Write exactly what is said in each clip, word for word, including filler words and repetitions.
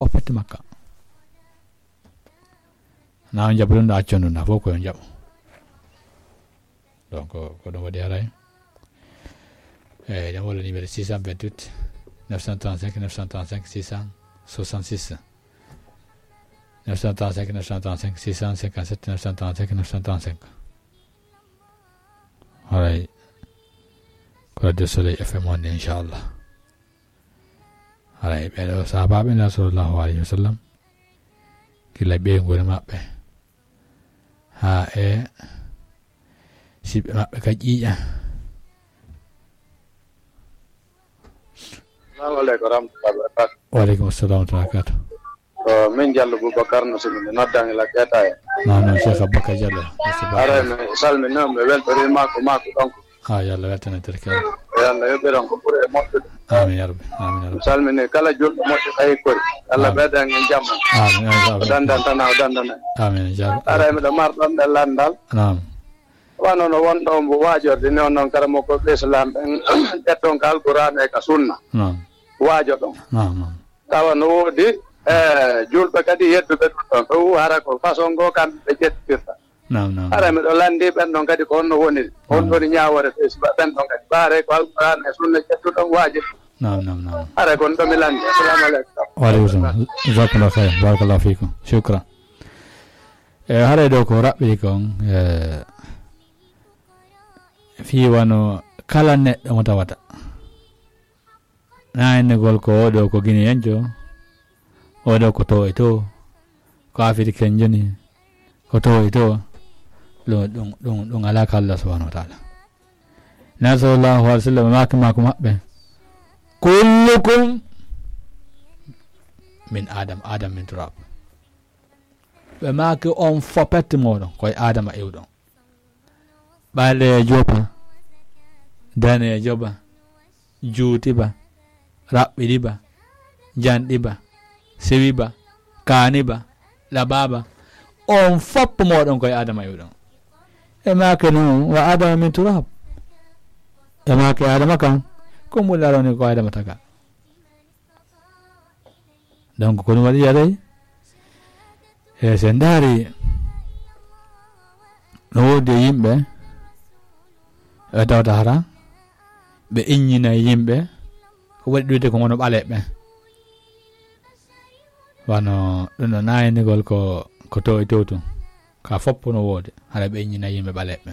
o fette makka. Na on jaɓɓuɗon ɗo accon ɗum na fof ko on jaɓɓo. Donc ko ɗum waɗi haray. Eyi, ɗum walla numéro six cent vingt-huit neuf cent trente-cinq neuf cent trente-cinq six cent soixante-six. Neuf cent trente-cinq neuf cent trente-cinq six cent cinquante-sept neuf cent trente-cinq neuf cent trente-cinq. Haray ko Radio Soleil F M wonde, inchallah. Haray ɓeɗo sahabaɓe Nela sallallahu alayhi wa sallam, gila ɓeynguure maɓɓe ha e siɓɓe maɓɓe ka ƴiiƴa. Assalamu aleykum wa rahmatullahi wa barakatuh. Wa aleykum assalam wa rahmatullahi wa barakatuh. Ko min Diallo Boubacar no simi mi noddangi la keetaye. Non, non, Cheikh Aboubacar Diallo. Merci beaucoup. Ara mi salmino mi weltori mako mako donc. Ah, yo Allah weltane terkel. Yo Allah yoɓiron ko ɓuri e moƴƴude. Amin ya rabbi. Amin ya rabbi. Salmini kala julɗo moƴƴo ka hikkori. Allah ɓeydan en jamma. Amin, amin, amin. O dandan tan o dandana. Amin ya rabbi. Ara miɗo mar ɗon ɗe landal. Naam. Wano no wonɗo mbo waajorde ni on noon karamoko ɓe islam ɓen ƴetton ka alquran e ka sunna. Naam. Waajo ɗon. Naam, naam. Tawa no woodi e julɓe kadi yedduɓe ɗum ɗon ɗo hara ko façon ngo kamɓe ɓe ƴettirta. Naam, naam. Hara miɗo lanndi ɓen ɗon kadi ko honno woniri. Honno woni ñaawoore Facebook ɓen ɗon kadi ɓaare ko alquran e sunna ƴettuɗon waaji. Naam, naam, naam. Hara kon ɗo mi lanndi. Assalamu aleykum. Wa aleykum salam. Jazakallahu khairan. Barakallahu fikum. Shukran. E haray ɗo ko raɓɓiɗi kon e fii wano kala neɗɗo mo tawata naayinegol ko oɗo ko Guinéen jo, oɗo ko to e to, ko Africain joni, ko to e to, ɗum ɗum ɗum ɗum alaa ka Allah subhanahu wa taala. Nabi sallallahu alaihi wasallam maaki maako maɓɓe, kullukum min Adam, Adam min turab. Ɓe maaki on fof pette mooɗon koye Adama iwɗon. Ɓaleejo ba, daneejo ba, juuti ba, raɓɓiɗi ba, janɗi ba, siwi ba, kaani ba, laɓa ba, on fof mooɗon koye Adama iwɗon. E maake noon wa Adama min turab. E maake Adama kan ko mbulla roni ko Adama taga. Donc ko ɗum waɗi yaray e so en ndaari no woodi e yimɓe ɓe tawta hara ɓe iññina e yimɓe ko waɗi ɗuyde ko ngono ɓaleeɓe wano ɗum ɗo naayinigol ko ko to e to tun ka foppo no woodi hara ɓe iññina e yimɓe ɓaleeɓe.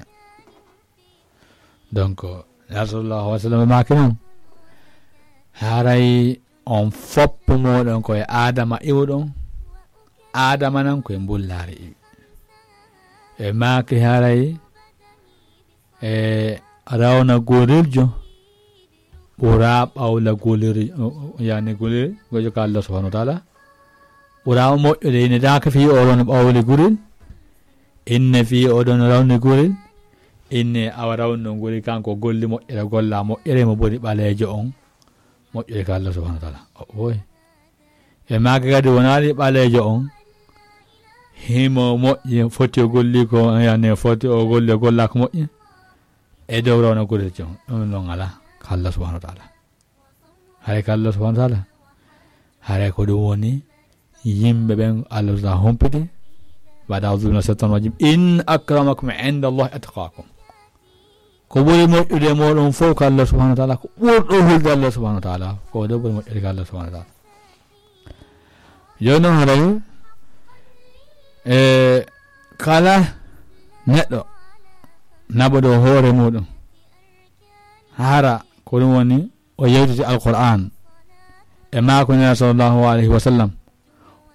Donc Nabi sallallahu alaihi wasallam maaki noon haray on foppo mooɗon koye Adama iwɗon. Adama nan koye mbullaari iwi. E maaki haray e rawna goriljo ɓura ɓawla goliri yani goliri gojo ka Allah subhanahu wa taala ɓura moƴƴude ine daaka fii oɗon ɓawli guril. Inne fii oɗon rawni guril. Inne awa rawno nguri kanko golli moƴƴere golla moƴƴere mo ɓuri ɓaleejo on moƴƴere ka Allah subhanahu wa taala. Oy e maake kadi wonaali ɓaleejo on himo moƴƴi foti o golli ko yani foti o golli o golla ko moƴƴi. E dow rawno guril jon ɗum non ala ka Allah subhanahu wa taala. Haray ka Allah subhanahu wa taala haray ko ɗum woni yimɓe ɓen Allah subhanahu humpiti. Baada audu billahi shaitan rajim, in akramakum inda Allah atqakum. Ko ɓuri moƴƴude e moɗon fof ko Allah subhanahu wa taala ko ɓurɗo hulde Allah subhanahu wa taala ko ɗo ɓuri moƴƴude ko Allah subhanahu wa taala. Jooni noon haray e kala neɗɗo naɓoɗo hoore muɗum hara ko ɗum woni o yewtiti alquran e maako nela sallallahu alayhi wa sallam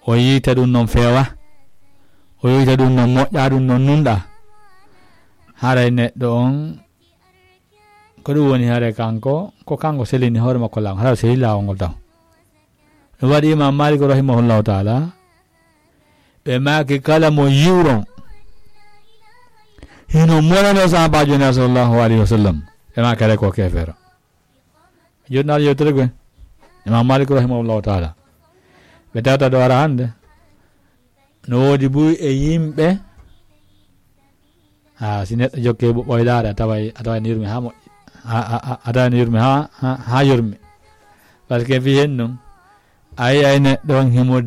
o yiyta ɗum noon feewa o yiyta ɗum noon moƴƴa ɗum noon nunɗa. Haray neɗɗo on ko ɗum woni haray kanko ko kanko selini hoore makko laawol haray o seli laawol ngol taw. Ɗum waɗi imam malik rahimahullahu taala ɓe maaki kala mo yiwron hino monano sahabajo nela sallallahu alayhi wa sallam ɓe maaki haray ko kefeero. Jooni naal yewtere goy imam malik rahimahullahu taala ɓe tawta ɗo ara hannde no woodi buy e yimɓe ha si neɗɗo jokke ɓoylaare a taway a taway no yurmi ha moƴƴi a taway no yurmi ha ha yurmi. Par ce que fii hen noon Ay, ay, neɗɗo on himo